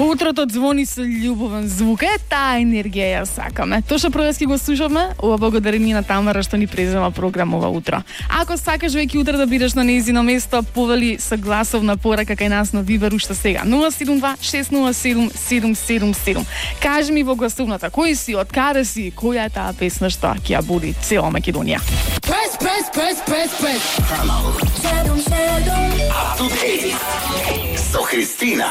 Утрото звони со љубовен звук. Таа енергија ја сакаме. Тоа што проески го слушавме, ова благодарение на Тамара што ни презема програмова утро. Ако сакаш веќе утре да бидеш на нејзино место, повели со гласовна порака кај нас на Вибер уште сега. 072-607-777. Кажи ми во гласовната, кој си, од каде си, која е таа песна што ќе ја буди цела Македонија. Press, press, press, press, press. Up to date со Христина.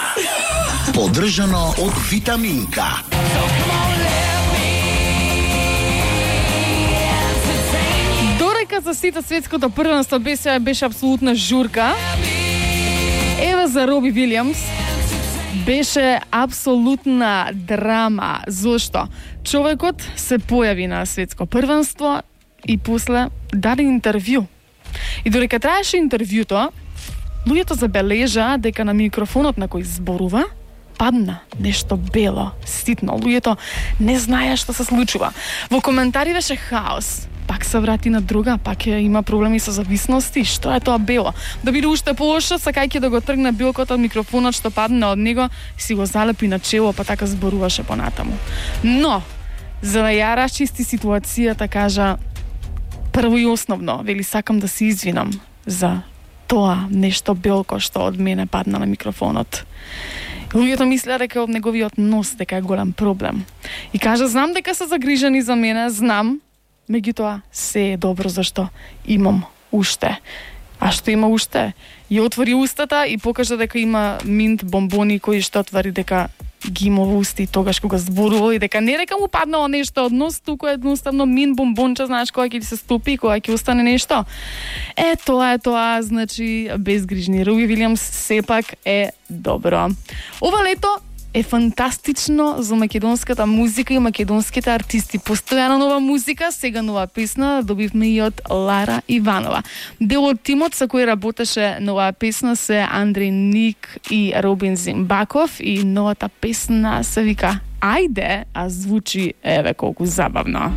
Поддржано од Витаминка. Дорека за сите светското првенство беше апсолутна журка. Ева за Роби Вилијамс беше апсолутна драма. Зошто? Човекот се појави на светско првенство и после даде интервју. И додека траеше интервјуто, луѓето забележа дека на микрофонот на кој зборува падна нешто бело, ситно. Луѓето не знаеа што се случува. Во коментари беше хаос. Пак се врати на друга, пак има проблеми со зависности. Што е тоа бело? Да биде уште полошо, сакајќи да го тргне билкото од микрофонот што падна од него, си го залепи на чело, па така зборуваше понатаму. Но, за да ја расчисти ситуацијата, кажа прво и основно, вели, сакам да се извинам за тоа нешто белко што од мене падна на микрофонот. Луѓето мислеа дека од неговиот нос дека е голем проблем. И кажа, знам дека се загрижени за мене, знам, меѓутоа се е добро зашто имам уште. А што има уште? Ја отвори устата и покажа дека има минт бомбони кои што отвори дека ги има во усти тогаш кога зборува и дека не дека му паднало нешто од нос, туку едноставно мин бомбонче, знаеш, кога ќе ти се стопи, кога ќе остане нешто. Тоа е тоа, значи безгрижни. Роби Вилијамс сепак е добро. Ова лето е фантастично за македонската музика и македонските артисти. Постојано нова музика, сега нова песна добивме и од Лара Иванова. Дел од тимот со кој работеше нова песна се Андреј Ник и Робин Зимбаков и новата песна се вика Ајде, а звучи еве колку забавно.